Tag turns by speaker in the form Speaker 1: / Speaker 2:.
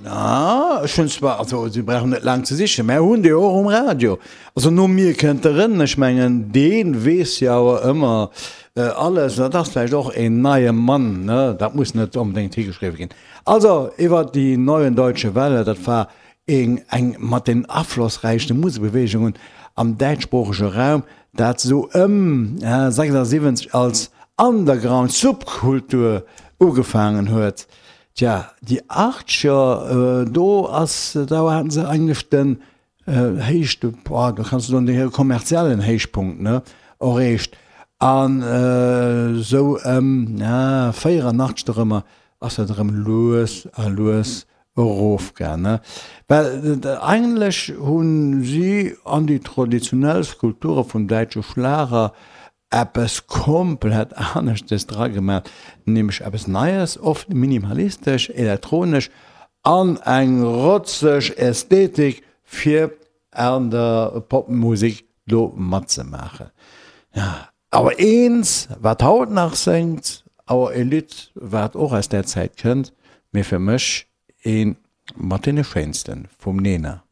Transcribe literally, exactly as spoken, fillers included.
Speaker 1: Na, ech hunn zwar, also si brauchen net laang ze sichen, mär hunn déi och um Radio. Also no mir kënnt de Ren, ech mengen dee weess jo awer ëmmer alles. Dat ass vläicht och een neie Mann, ne, dat muss net onbedéngt higeschriwwe ginn. Also iwwer déi Neuen Deutsche Welle, dat war eng eng mat den aflossräichste Musekbeweegungen am däitschsproochege Raum, dat sou ëm sechsundsiwwenzeg als Underground-Subkultur ugefaangen huet. Tja, déi Achtzeger, do ass, do haten se eigentlech den héichte, boah, do kanns du soen, hire kommerziellen Héichpunkt, ne, erreecht. An esou ëm, ja, véierannachtzeg dorëmmer ass dat erëm lues a lues erofgaang, ne. Well eigentlech hu si an déi traditionell Skulpture vum däitsche Schlager eppes komplett aneschtes dra gemaat, nämlech eppes Neies, oft minimalistesch, elektronesch an eng rotzeg Ästhetik fir an der Popmusek do matzemaachen. Ja, awer eent wat haut nach séngt, awer e Lidd wat och aus där Zäit kënnt, mee fir mech ee mat deene schéinsten vum Nena.